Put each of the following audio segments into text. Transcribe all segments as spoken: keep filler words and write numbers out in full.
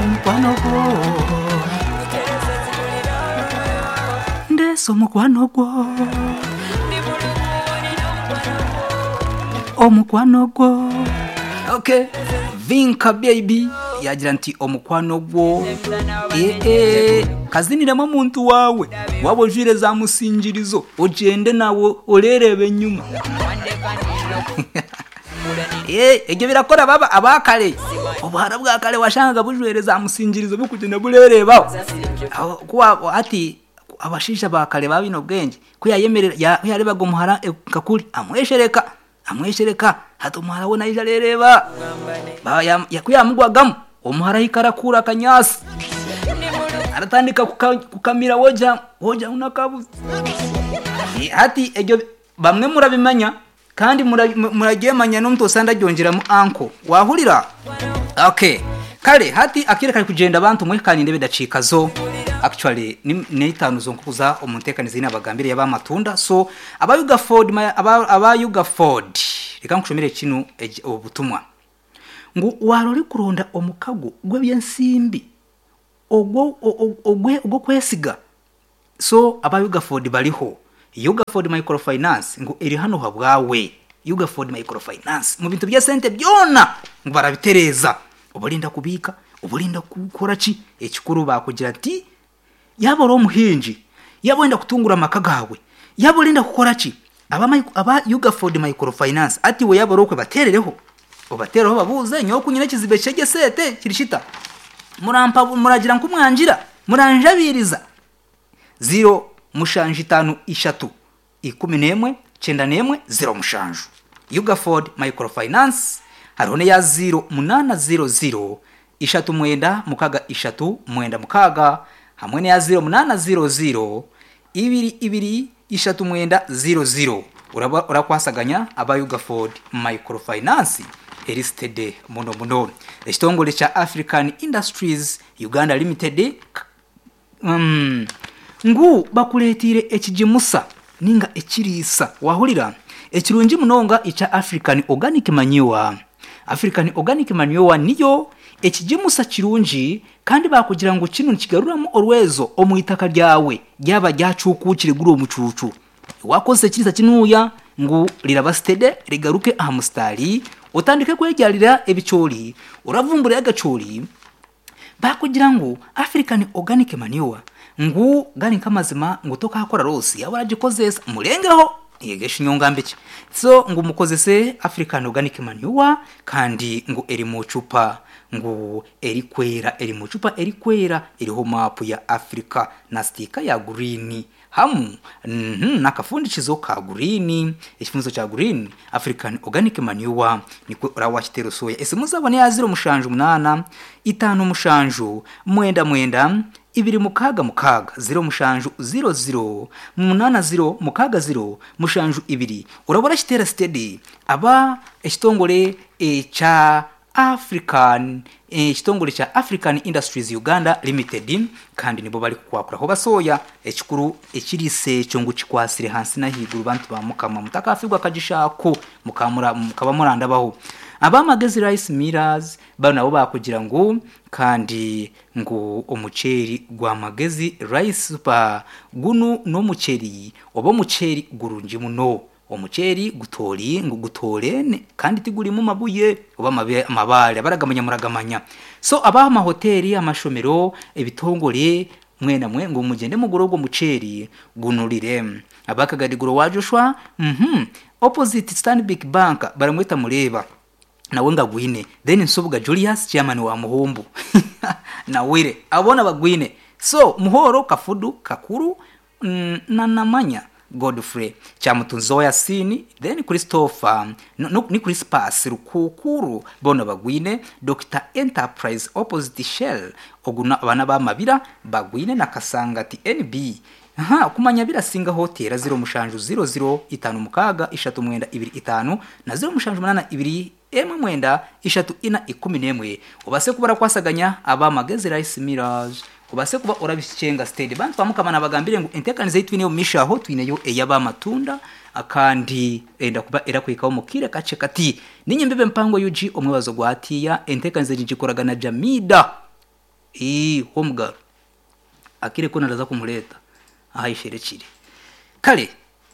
Omukwano gwo, ndeese omukwano gwo, omukwano gwo. Okay, Vinka Baby yagira nti omukwano gwo. Ee, kaziniremu omuntu wawe waba ojwire za musingirizo, ogyende nawe oreereba enyuma. Ee, ebyo birakora baba abakare, obuhara bwa kare washangaga bujwire za musingirizo bukugyenda bureerebaho. Aho, kuba ati abashaija ba kare baba baine obwengye, ku yayemerera ya- ku yareebaga omuhara nka kuri amweshereka amweshereka hati omuhara we naija areereeba. Ba- ya- ya- ku yamugwagamu omuhara ahika arakuura akanyaasi, aratandika kuka- kukamira wogira wogira ngu nakabuze. Eh, hati ebyo bamwe murabimanya kandi mura- mu- muragyemanya n'omuntu osanga agyongyeramu anko wahurira. Okay, kare hati akire kari kugyenda abantu mwe kandi ndebe dakiika zo actually ni ni itaano zo nkukuza omu nteekaniza eine abagambire y'abamatunda. So aba Yuga Ford ma- aba, aba Yuga Ford, reka nkushomere kinu egi- obutumwa ngu wara orikuronda omukago gw'ebyensimbi ogwo o- o- ogw'okwesiga. So aba Yugaford bariho, Yugaford Microfinance ngu eri hano habwawe. Yugaford Microfinance mu bintu by'esente byona ngu barabitereeza, obarinda kubiika, obarinda kukora ki, ekikuru bakugira nti yaba ori omuhingi, yaba orenda kutungura amaka gaawe, yaba orenda kukora ki, aba, micro- aba Yugaford Microfinance ati we yaba ori okwe bateerereho, obateereho babuuze nyowe ku nyine ekizibu eky'esente kiri kita, murampa muragira nkumwangira muranjabiiriza. Ziro mushanju itaano ishatu ikumi n'emwe kyenda n'emwe ziro mushanju, Yugaford Microfinance. Hariho n'eya ziro munaana ziro ziro ishatu mwenda mukaga ishatu mwenda mukaga, hamwe n'eya ziro munaana ziro ziro ibiri ibiri ishatu mwenda ziro ziro. Uraba urakwasaganya aba Yugaford Microfinance erisitede muno muno. Ekitongore kya African Industries Uganda Limited mm, ngu bakureetiire ekigimusa ninga ekiriisa, wahurira, ekirungi munonga ekya African Organic Manure. African Organic Manure niyo ekigimusa kirungi, kandi bakugira ngu kinu nikigaruramu orwezo omu itaka ryawe ryaba ryacuukukire guri omucuucu. Wakozesa ekiriisa kinuuya ngu riraba sitede, rigaruke aha musitaari, otandike kwegyarira ebicoori, oravumbura agacoori. Bakugira ngu African Organic Manure ngu gari nk'amazima ngu tokakora rosi yaba oragikozesa murengeho yegesha inyongambiki. So ngu mukozese African Organic Manure, kandi ngu eri mu cupa ngu erikwera, eri mu cupa erikwera eriho maapu ya Africa na sitika ya green hamu mm, n'akafundikizo ka green, ekifundikizo kya green. African Organic Manure nikwe orawakitera soya. Esimu zabo ni ya ziro mushanju munaana itaano mushanju mwenda mwenda ibiri mukaaga mukaaga, ziro mushanju ziro ziro munaana ziro mukaaga ziro mushanju ibiri. Urabona kitera steady aba ekitongore ekya African, ekitongore kya African Industries Uganda Limited, kandi nibo bari kukwakuraho basoya. Ekikuru ekiriisa ekyo ngu kikwasire hansi n'ahaiguru. Bantu ba mukama mutakafirwa akagishako mukamura mukaba murandabaho. Abamagezi Rice Millers bano nabo bakugira ngu kandi ngu omuceeri gwa Magezi Rice Super gunu n'omuceeri oba omuceeri gurungi muno, omuceeri gutori ngu gutorene kandi tigurimu mabuye oba amabe- amabaare abaragamanya muragamanya. So abaha amahoteri, amashomero, ebitongore mwena mwe ngu mugende mugure ogwo muceeri gunurire. Abakagariguro wa Joshua mhm opposite Stanbic Bank baramweta mureba nawe ngagwine. Then Nsubuga Julius chairman wa Muhumbu nawire abona bagwine. So Muhoro Kafudu Kakuru mm, na Namanya Godfrey Kyamutunzi wa Yasini, then Christopher no, no, ni Crispus Rukukuru bona bagwine. Doctor Enterprise opposite Shell oguna abana bamabira bagwine na Kasangati N B. Aha kumanya birasinga hotera ziro mushanju ziro ziro itanu mukaga ishatu mwenda ibiri itanu na ziro mushanju munana ibiri emwe mwenda ishatu ina ikumi n'emwe, ubase kuba kwasaganya aba Magezi Rice Millers, ubase kuba orabishenga steady. Bantu bamukama nabagambire ngu entekanize twineyo mishaho twineyo ey'abamatunda akandi enda kuba erakwikaho mukire kace kati ninye mbebe mpango yuji omwebazo gwatiya entekanize gikoragana Jamida. Ii w'omugaro akire ko naraza kumureeta aha isherekire. Kare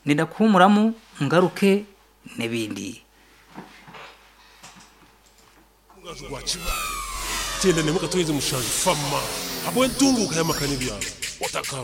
nenda kuhumuramu ngaruke n'ebindi. Mugaju gwa Kibaale kyenda nemwe katonyeze mushanju fama habw'entunguka y'amaka n'ebyaro otaka.